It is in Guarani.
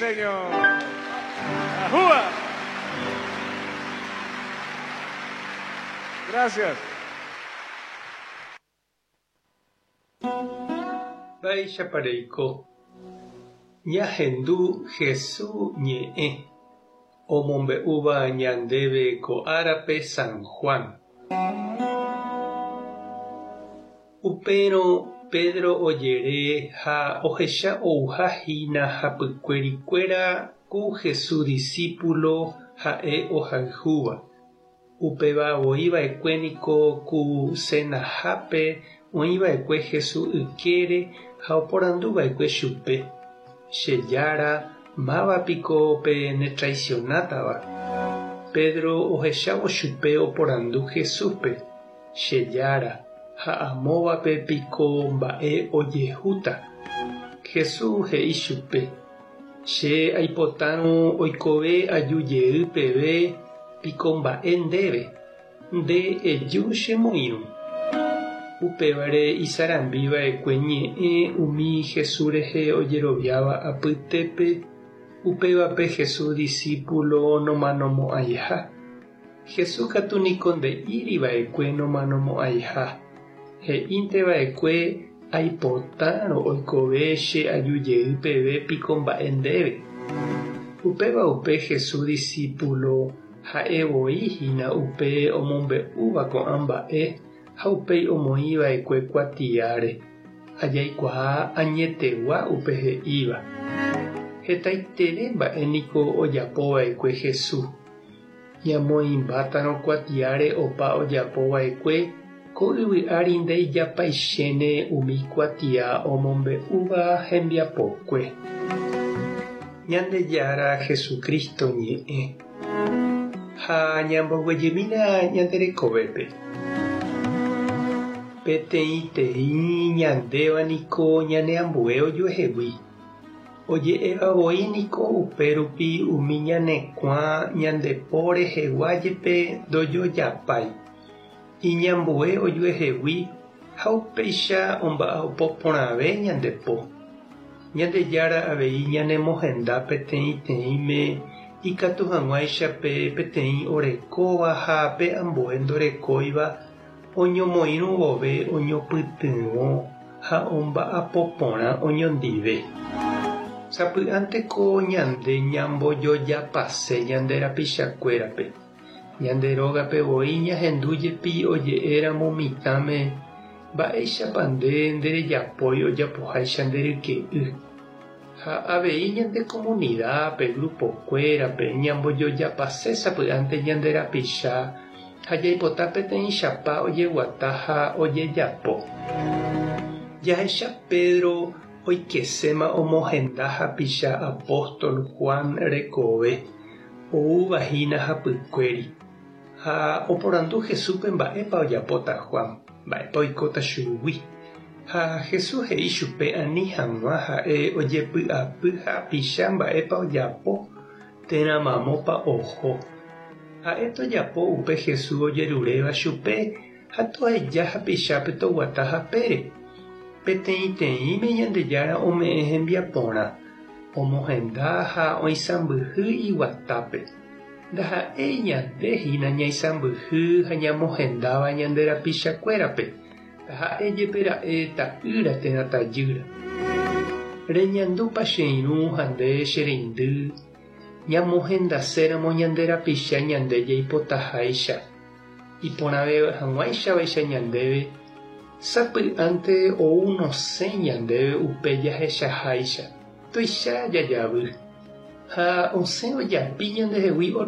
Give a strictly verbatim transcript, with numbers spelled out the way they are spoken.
Señor. ¡Ajúa! Gracias. Mba'éichapa reiko. Ñahendu Jesús ñe'ẽ omombe'úva ñandéve ko árape San Juan. Upérõ Pedro ojere ha ohecha ouhahína hapykuerikuéra ku Jesús discípulo ha'e ohayhúva. Upéva oĩva'ekue niko ku cenahápe oĩva'ekue Jesús ykére ha oporanduva'ekue chupe. Che Jára, mávapiko pe netraicionátava. Pedro ohechávo chupe oporandu Jesúspe. Che Jára, ha amóvape piko mba'e ojehúta. Jesús he'i chupe. Che aipotárõ oikove ajujey peve piko mba'e ndéve. Nde eju chemoirũ. Upévare isarambiva'ekue ñe'ẽ umi Jesús rehe ojeroviáva apytépe, upévape Jesús discípulo nomanomo'ãiha. Jesús katu niko nde'íriva'ekue nomanomo'ãiha. He'ínteva'ekue aipotárõ oikove che ajujey peve piko mba'e ndéve. Upéva upe Jesús discípulo ha'evoíhína upe omombe'úva ko'ã mba'e ha upéi omoĩva'ekue kuatiáre. Ajaikuaa añetegua upe he'íva. Hetaiterei mba'e niko ojapova'ekue Jesús. Ñamoĩmbátarõ kuatiáre opa ojapova'ekue ko yvy ári nde'ijapaichéne umi kuatia omombe'úva hembiapokue. Ñandejára Jesucristo ñe'ẽ. Ha ñamboguejymína ñande rekovépe. Peteĩteĩ ñandéva niko ñaneambue ojuehegui. Oje'evavoi niko upérupi umi ñanekuã ñandepo rehegua jepe ndojojapái. Iñambue ojuehegui ha upéicha omba'apo porãve ñandepo. Ñandejára avei ñanemohenda peteĩteĩme ikatu hag̃uáichape peteĩ orekóva ha pe ambue ndorekóiva oñomoirũ vove oñopytyvõ ha omba'apo porã oñondive. Sapy'ánteko ñande ñambojojapase ñande rapichakuérape. Ñande rógape voi ñahendu jepi oje'éramo mitãme mba'éichapa nde nderejapói ojapoháicha nde ryke'y. Ha avei ñande comunidad-pe, grupokuérape ñambojojapase sapy'ánte ñande rapicha ha jaipota peteĩ chapa ojeguata ha ojejapo. Jahecha Pedro oikeséma omohenda hapicha apóstol Juan rekove oúvahína hapykuéri. Ha oporandu Jesúspe mba'épa ojapóta Juan, mba'épa oikóta chugui. Ha Jesús he'i chupe ani hag̃ua ha'e ojepy'apy hapicha mba'épa ojapo térã mamópa oho. Ha'e tojapo upe Jesús ojeruréva chupe ha toheja hapichápe toguata hapére. Peteĩteĩme Ñandejára ome'ẽ hembiaporã, omohenda ha oisãmbyhy iguatápe. Ndaha'éi ñandehína ñaisãmbyhy ha ñamohendáva ñande rapichakuérape. Ndaha'éi jepe ra'e ta'ýra térã tajýra. Reñandúpa che irũ ha nde che reindy ñamohendaséramo ñande rapicha ñande jaipotaháicha. Iporãve hag̃uáichavaicha ñandéve sapy'ánte ou nosẽ ñandéve upe jahechaháicha. Tuicha jajavy. Ha osẽ ojapi ñandehegui